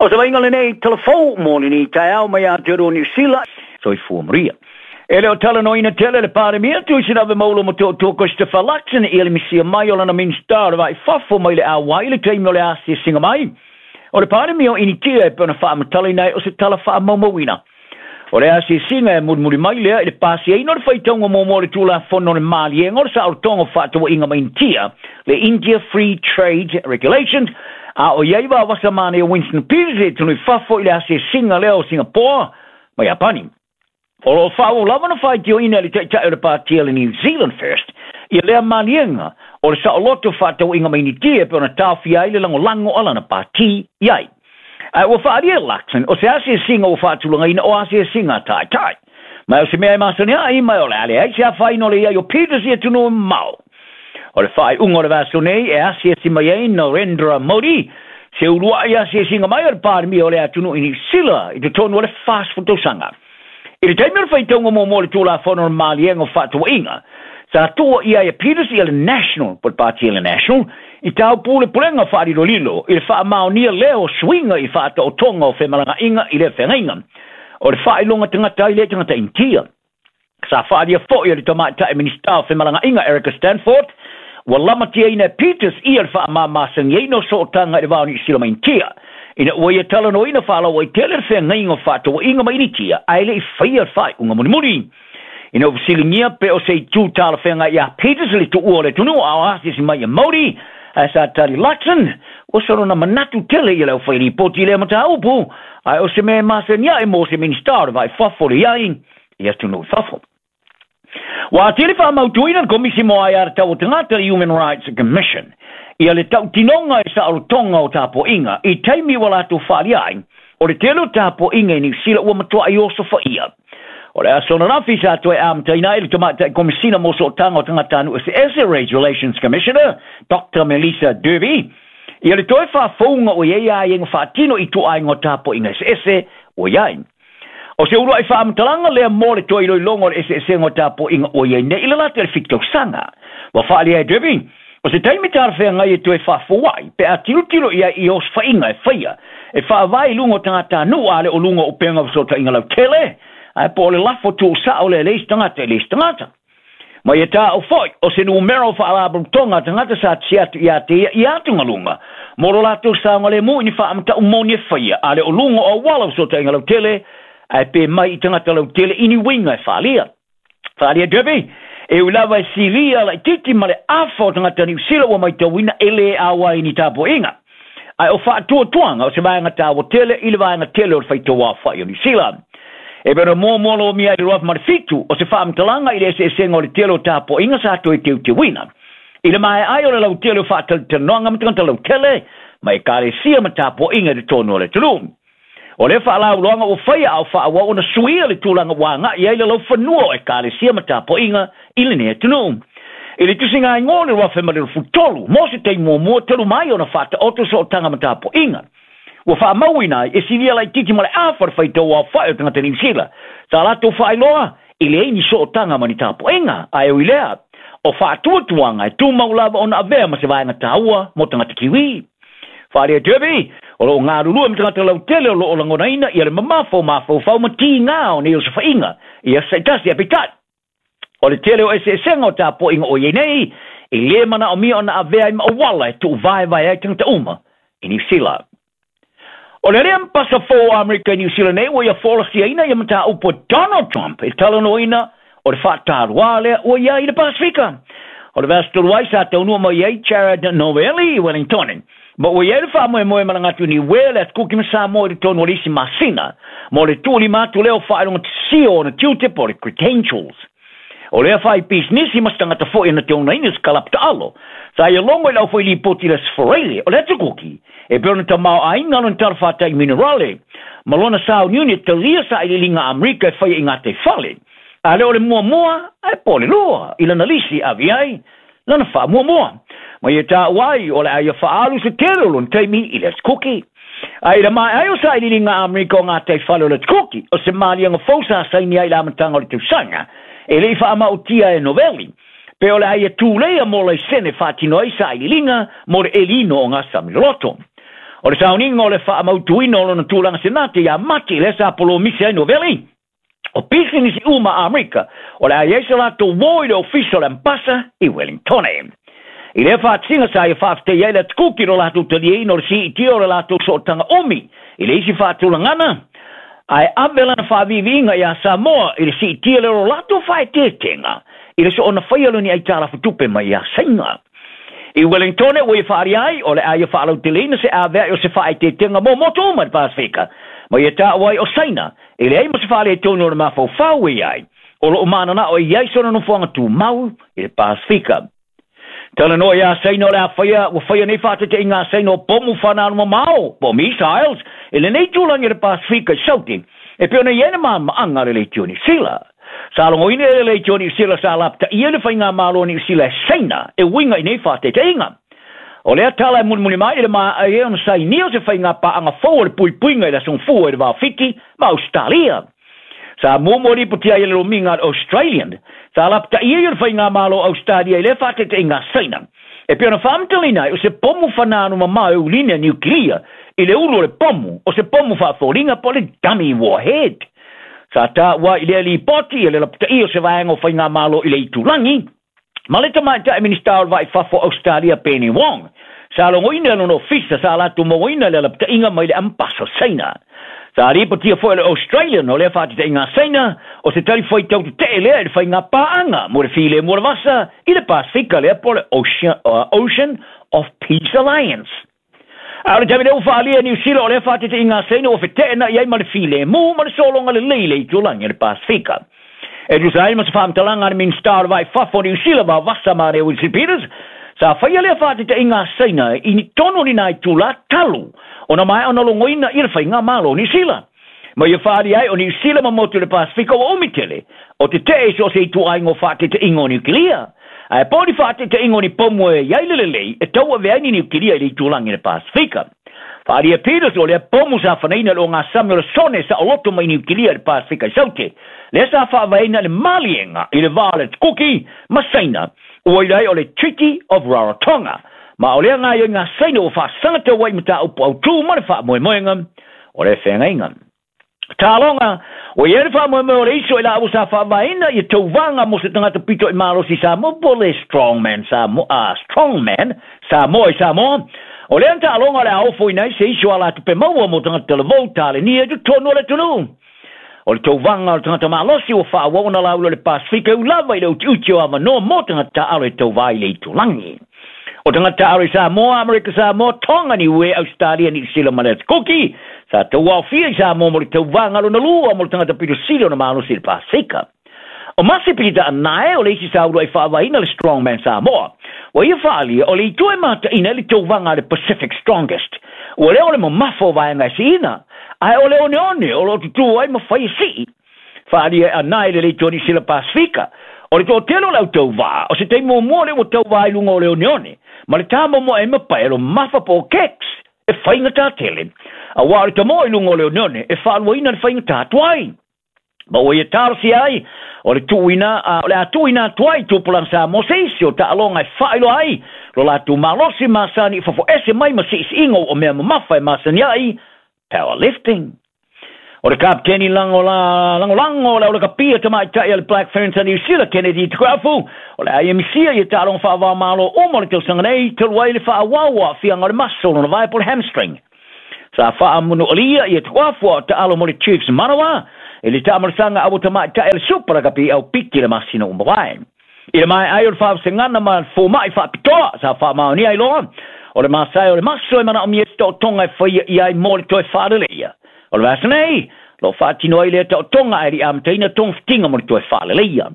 O se vaaiga lenei talavou mo lenei taeao mai Aotearoa Niu Sila. Soifua Maria. E le o talanoaina tele le Palemia Tuisilave Maulo Motootua Christopher Luxon i le misia mai o lana Minisita o le Va i Fafo mai le Auai i le taimi o le asiasiga mai o le Palemia o Initia e pei ona faamatalaina ai o se tala faamaumauina. O le asiasiga e mulimuli mai lea i le pasiaina o le faitauga muamua o le Tulafono o le Maliega o le Saolotoga o Fefaatauaiga ma Initia, le India Free Trade Regulations, a o i ai vavasa manaia Winston Peters i atunuu i fafo i le asiasiga lea o Singapore ma Iapani. O lo o faaauau lava ona faitioina e le Taitai o le Pati a le New Zealand First ia lea maliega o le saoloto fefaatauaiga ma Initia e pei ona taofia ai le lagolago a lana pati i ai. Ae ua faaalia e Luxon o se asiasiga ua faatulagaina o asiasiga a taitai. Ma o se mea e masani ai, ma o le a leai se afaina o le i ai o Peters i atunuu e mamao. O le faaiuga o le vaiaso nei e asiasi mai ai Narendra Modi, se uluai asiasiga mai a le Palemia o le atunuu i Niu Sila i totonu o le 40 tausaga. I le taimi o le faitauga muamua o le Tulafono o le Maliega o Fefaatauaiga, sa tuua i ai e Peters ia le National, po o le Pati a le National, i taupule pulega faalilolilo i le faamaonia lea o suiga i faataotoga o femalagaaiga i lea feagaiga o le faailoga tagata ai lea tagata Initia. Sa faaalia foi e le tamaitai Minisita o Femalagaaiga Erica Stanford, ua lamatiaina e Peters ia le faamamasagiaina o sootaga i le va o Niu Sila ma Initia, ina ua ia talanoaina faalauaitele le feagaiga o fefaatauaiga ma Initia ae le i faia le faaiuga mulimuli. Ina ua fesiligia pe o se itu talafeagai ia Peters le tuua o le atunuu a o asiasi mai ia Modi, ae sa tali Luxon, ua solo manatu tele ia le aufailipoti i lea mataupu, ae o se mea e masani ae mo se Minisita o le Va i Fafo le i ai i atunuu i fafo. Ua atili faamautuina le Komisi mo Aia Tatau a Tagata, le Human Rights Commission, ia le tautinoga i saolotoga o tapuaiga i taimi ua latou faaalia ai o le tele o tapuaiga i Niu Sila ua matuai osofaia. O le aso ananafi sa toe amataina ai le tamaitai Komisina mo Sootaga o Tagatanuu Eseese, Race Relations Commissioner, Dr. Melissa Derby, ia le toe faafouga o i ai aiaiga faatino i ituaiga o tapuaiga eseese ua i ai. O se uluai faamatalaga lea mo le toe iloiloga o le eseesega o tapuaiga ua i ai nei i le lata i le 7 tausaga. Ua faaalia e Derby, o se taimi talafeagai e toe faafou ai pe a tilotilo i ai i osofaiga e faia e faavae i luga o tagatanuu a le o luga o upega o fesootaiga lautele, ae po o le lafo tuusao lea e le isi tagata i le isi tagata. Ma ia taua foi o se numera o faalapotopotoga a tagata sa tisi atu ia te ia i atugaluga mo lo latou saogalemu i ni faamatau moni e faia a le o luga o auala o fesootaiga lautele ae pe mai i tagata lautele i ni uiga e faaalia. Faaalia Derby, e ui lava e silia laitiiti ma le afa o tagata Niu Sila ua matauina e lē auai i ni tapuaiga. Ae o faatuatuaga o se vaega taua tele i le vaega tele o le faitau aofai o Niu Sila. E pei ona muamua lomia ai i le 2007, o se faamatalaga i le eseesega o le tele o tapuaiga sa toe teuteuina. I le maea ai o le lautele o faatalatalanoaga ma tagata lautele, ma ekalesia ma tapuaiga i totonu o le atunuu. O lea faalauiloaga ua faia a o faaauau ona suia le tulaga ua agai ai le laufanua o ekalesia ma tapuaiga i lenei atunuu. I le tusiga igoa o le 2023, mo se taimi muamua talu mai ona faataoto sootaga ma tapuaiga, ua faamauina ai e silia laitiiti ma le afa o le faitau aofai o tagata Niu Sila sa latou faailoa e leai ni sootaga ma ni tapuaiga, ae ui lea, o faatuatuaga e tumau lava ona avea ma se vaega taua mo tagata Kiwi. Faaalia Derby, o lo o galulue ma tagata lautele o lo o lagonaina ia le mamafa o mafaufau ma tiga o nei osofaiga i aso taitasi, ae peitai, o le tele o eseesega o tapuaiga o i ai nei, e lē manaomia ona avea ai ma auala e tuuvaevae ai tagata uma i Niu Sila. O le alii ambassador fou o Amerika i Niu Sila nei ua ia folasiaina ia mataupu a Donald Trump e talanoaina o le faataluā lea ua i ai i le Pasefika. O le vaiaso talu ai sa taunuu mai ai Jared Novelli i Wellington, ma ua i ai le faamoemoe malaga atu i Niue, le Atukuki ma Samoa i totonu o le isi masina mo le tuulima atu lea o faailoga tasio o ona tiute po o le credentials. O lea faipisinisi ma se tagata foi na te onaina se kalapu taalo sa ia logo i le aufailipoti i le Aso Faraile o le Atukuki e pei ona tamaoaiga lona talafatai minerale ma lona sauniuni e talia sailiiliga a Amerika e faia i gataifale, a le o le muamua ae po o le lua i lana lisi e ave ai lana faamuamua. Ma ia taua ai o le a ia faaalu se tele o lona taimi i le Atukuki. Ae i le maea ai o sailiiliga a Amerika o gataifale o le Atukuki, o se maliega fou sa saini ai i le amataga o le tausaga, e le i faamaotia e Novelli, pe o le a ia tuleia mo laisene faatino ai sailiiliga mo le elino o gasami loloto. O le sauniga o le faamautuina o lona tulaga Senate ia Mati lea sa polomisi ai Noveli, o pisinisi uma a Amerika o le a i ai se latou uō i le ofisa o le Ambasa i Wellingtone. I lea faatasiga sa ia faafetai ai le Atukuki i lo latou taliaina o le siitia o le latou sootaga umi i le isi faatulagana, ae ave lana faaviiviiga iā Samoa i le siitia lea o lo latou faaeteetega i le soona faia o ni aitalafu tupe mai iā Saina. I Wellingtone ua ia faaalia ai o le a ia faalauteleina se avea'i o se faaeteetega mo motu uma i le Pasefika, ma ia taua ai o Saina e leai ma se faaletonu o le mafaufau e i ai, o loo mananao e i ai sona nofoaga tumau i le Pasefika. Talanoa iā Saina o le a faia ua faia nei faataitaiga a Saina o pomu fanalumamao po o missiles i lenei tulaga i le Pasefika i Saute e pei ona i ai le maamaaga a le Leitio Niu Sila. Sa logoina e le Leitio Niu Sila sa lapataia le faigamalo a Niu Sila e Saina e uiga i nei faataitaiga. O lea tala e mulimuli mai i le maea ai ona sainia o se faigapaaga fou o le puipuiga i le Aso Gafua i le Va o Fiti ma Ausetalia. Sa muamua lipotia ai e le lomiga a le Australian, sa lapataia ia le faigamalo o Ausetalia i lea faataitaiga a Saina. E pei ona faamatalaina ai, o se pomu fananu mamao e ulina niukilia i le ulu o le pomu, o se pomu faafoliga po o le dummy warhead. Sa taua ai i lea lipoti le lapataia o se vaega o faigamalo i le itulagi, ma le tamaitai Minisita o le Vai i Fafo o Ausetalia Penny Wong. Sa logoina e lona ofisa sa latou mauaina le alapataiga mai le Ambasa o Saina. Sa lipotia foi e le Australian o lea faataitaiga a Saina o se talifuaitau tetee lea i le faigapaaga mo le filemu o le vasa i le Pasefika lea po o le Ocean of Peace Alliance. A o le taimi lea ua faaalia e Niu Sila o lea faataitaiga a Saina ua feteenai ai ma le filemu ma le sologa lelei i le itulagi o le Pasefika. E tusa ai ma se faamatalaga a le Minisita o le Vai i Fafo o Niu Sila Vavasa Mane Wilson Peters, sa faia lea faataitaiga a Saina i ni tonu o ni nai itulā talu ona maea ona logoina ia le faigamalo o Niu Sila. Ma ia faaalia ai o Niu Sila ma motu i le Pasefika ua umi tele o tetee i so o se ituaiga o faataitaiga o niukilia. Ae po o ni faataitaiga o ni pomu e i ai le lelei e tauavea ai ni niukilia i le itulagi o le Pasefika. Faaalia Peters o lea pomu sa fanaina i le ogasami o le sone saoloto mai niukilia i le Pasefika i Saute, lea sa faavaeina i le maliega i le va o le Kuki ma Saina, ua ila ai o le Treaty of Rarotonga. Ma o lea gaoioiga a Saina ua faasagatau ai i mataupu autū ma le faamoemoega o le feagaiga. Taloga, ua i ai le faamoemoe o le iso i laua sa faavaeina ia tauvaga mo se tagata pito i malosi i Samoa po o le Strongman Samoa, Strongman Samoa i Samoa. O lea taaloga o le a ofoina ai se iso alatupe maua mo tagata talavou talenia i totonu o le atunuu. O le tauvaga o le tagata malosi ua faaauau ona laula o le Pasefika e ū lava i le utiuti o avanoa mo tagata taaalo e tauvā i le itulagi. O tagata taaalo i Samoa, Amerika Samoa, Tonga, Niue, Ausetalia, Niu Sila ma le Atukuki sa tauaofia i Samoa mo le tauvaga lona lua mo le tagata pito sili ona malosi i le Pasefika. O Masi Pita Anae o le isi sa uluai faavaeina le Strongman Samoa. Ua ia faaalia o le itu e mataina ai le tauvaga a le Pacific Strongest, ua lea o le mamafa o vaega e siina, ae o le oneone o loo tutū ai ma fai e sii. Faaalia e Anae le Leitio Niu Sila Pasefika, o le toatele o le au tauvā, o se taimi muamua lea ua tauvā i luga o le oneone, ma le tāmomoe ai ma pae lo mafa po o kicks e faigata tele. Auā o le tamoe i luga o le oneone e faaluaina le faigata atu ai. Ma ua ia talosia ai, o le tuuina, o le a tuuina atu ai i tupulaga Samoa se isi o taaloga e faailoa ai lo latou malosi masani i fafo ese mai ma siisiiga o mea mamafa e masani ai, powerlifting. O le kapiteni lagolago o le aulakapia tamaitai a le Black Ferns a Niu Sila, Kennedy Tukuafu, o le a ia misia ia taaloga faava-o-Malo uma o le tausaga nei, talu ai le faaauau o aafiaga o le maso o lona vae po o le hamstring. Sa faamunualia ia Tukuafu a o taalo mo le Chiefs Manawa i le taamalosaga aua tamaitai a le Super Rugby au Piki i le masina ua mavae. I le maea ai o le faavasegana ma le fomai faapitoa sa faamaonia ai loa, o le masae o le maso e manaomia se taotoga e faia i ai mo le toe faaleleia. O le vaiaso nei, o loo faatino ai lea taotoga ae le i amataina togafitiga mo le toe faaleleia.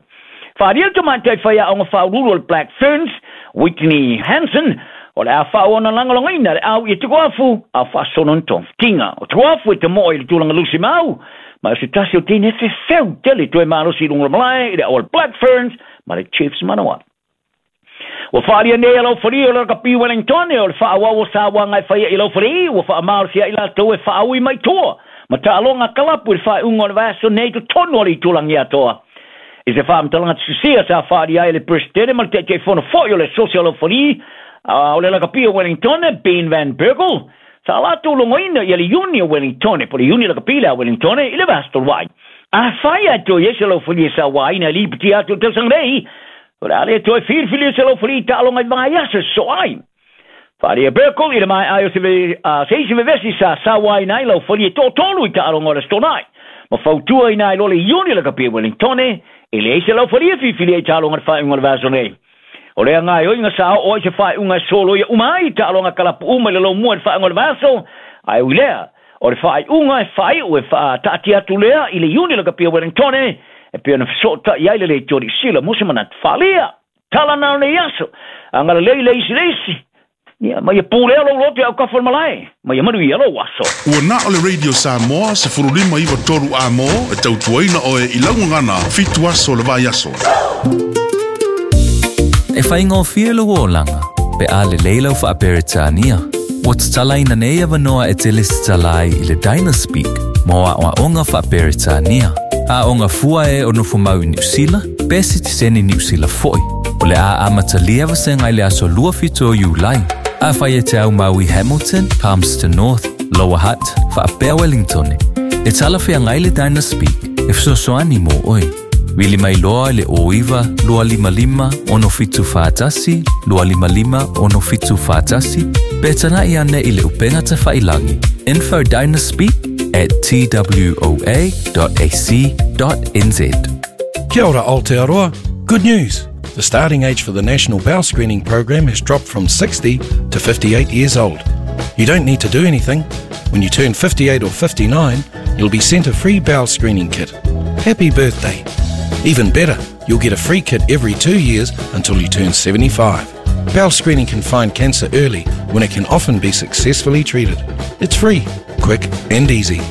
Faaalia le tamaitai faiaoga faauluulu o le Black Ferns, Whitney Hansen, o le a faaauau ona lagolagoina le au ia Tukuafu a o faasolo ni togafitiga. O Tukuafu e tamoe i le tulaga lusi mau, ma o se tasi o teine fefeu tele toe malosi i luga o le malae i le au a le Black Ferns ma le Chiefs Manawa. Ua faaalia nei e Laufalie o le Rakapi Wellington o le faaauau o sauaga e faia i Laufalie ua faamalosia ai latou e faaui mai tua ma taaloga kalapu i le faaiuga o le vaiaso nei i totonu o le itulagi atoa. I se faamatalaga tusia sa faaalia ai e le Peresetene ma le Taitaifono foi o le Asosi o Laufalie o le Lakapi o Wellington, Ben Van Berkel, Sa latou logoina ia le Iuni o Wellingtone, po o le Iuni Lakapi lea a Wellingtone, i le vaiaso talu ai. Afai ae toe i ai se laufalie e sauaina e lipotia atu i le tausaga nei, o le a le toe filifilia se laufalie i taaloga i vaiaso e sosoo ai. Faaalia Burkle i le maea ai o se, se isi vevesi sa sauaina ai laufalie e toatolu i taaloga o le Aso Toonai, ma fautuaina ai loa le Iuni Lakapi a Wellingtone e leai se laufalie e filifilia i taaloga i le faaiuga o le vaiaso nei. O lea gaoioiga sa oo ai se faaiuga e soloia uma ai taaloga kalapu uma i le lomua i le faaiuga o le vaiaso, ae ui lea, o le faaiuga e faaiu e faataatia atu lea i le Iuni Lakapi a Wellingtone e pei ona fesootai ai le Leitio Niu Sila mo se manatu faaalia. Tala na o nei aso, agalelei le isi le isi, ia, ma ia pulea lou loto i autafa o le malae, ma ia manuia lou aso. Ua na o le Radio Samoa 1593 A-mo e tautuaina oe i lau gagana fitu aso o le vaiaso. E faigofie lou olaga pe a lelei lau Faa-Peretania. Ua tatalaina nei avanoa e te lesitala ai i le Dynaspeak mo aoaoga Faa-Peretania. Aoga fua e o nofomau i Niu Sila, pe sitiseni Niu Sila foi. O le a amatalia vasega i le aso 27 o Iulai. Afai e te aumau i Hamilton, Palmerston North, Lower Hutt, faapea Wellingtone, e talafeagai le Dynaspeak e fesoasoani mo oe. Vili mai loa i le 09 255 6741 255 6741 pe tana'i ane i le upega tafailangi info dynaspeak at twoa.ac.nz. Kia ora Aotearoa. Good news! The starting age for the National Bowel Screening Program has dropped from 60 to 58 years old. You don't need to do anything. When you turn 58 or 59, you'll be sent a free bowel screening kit. Happy birthday! Even better, you'll get a free kit every 2 years until you turn 75. Bowel screening can find cancer early when it can often be successfully treated. It's free, quick and easy.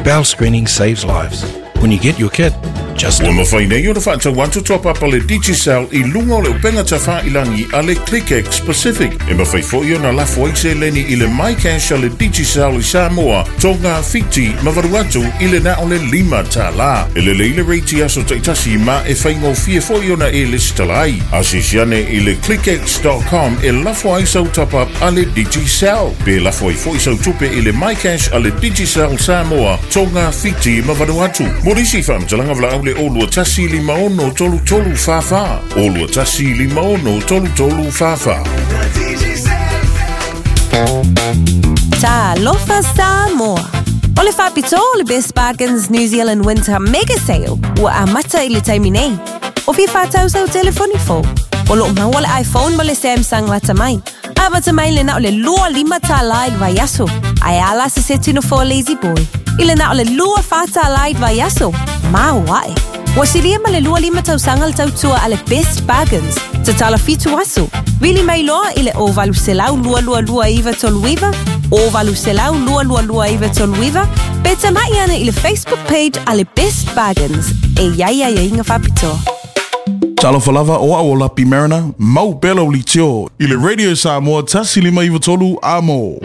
Bowel screening saves lives. When you get your kit, just Ua mafai nei ona faatau atu toa papa le Digicel i luga o le upega tafailangi a le ClickX Pacific. E mafai foi ona lafo ai seleni i le MyCash a le Digicel i Samoa, Tonga, Fiti ma Vanuatu i le na o le $5. E lelei le rate i aso taitasi ma e faigofie foi ona e lesitala ai. Asiasi ane i le clickx.com e lafo ai sau top-up a le Digicel. Pe lafo ai foi sau tupe i le MyCash a le Digicel Samoa, Tonga, Fiti ma Vanuatu. Mo nisi faamatalaga valaau le 021 56 33 44, 021 56 33 44. Talofa Samoa! O le faapitoa o le Best Bargains New Zealand Winter Mega Sale ua amata i le taimi nei. O fia faatau sau telefoni fou? O lo o maua le iPhone ma le Samsung lata mai. Amata mai le na o le $25 i le vaiaso, ae a la se seti nofoa Lazy Boy i le na o le $24 i le vaiaso. Maoae! Ua silia ma le 25 tausaga le tautua a le Best Bargains. Tatala fitu aso. Vili mai loa i le 0800 222 939, 0800 222 939, pe tamai ane i le Facebook page a le Best Bargains. E i ai aiaiga faapitoa. Talofa lava o au o Lapi Mariner, mau pea lau litio i le Radio Samoa 1593 A-mo.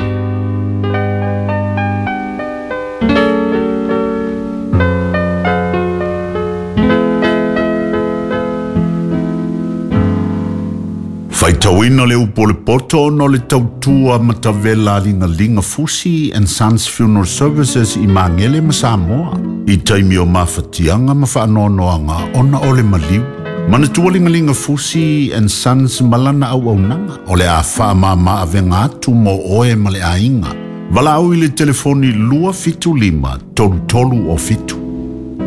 Faitauina le upu o le poto ona o le tautua matavela a Ligalinga Fusi and Sons Funeral Services i Magele ma Samoa i taimi o mafatiaga ma faanoanoaga ona o le maliu. Manatua Ligalinga Fusi and Sons ma lana auaunaga o le a faamama avega atu mo oe ma le aiga. Valaau i le telefoni 275 33 o 7.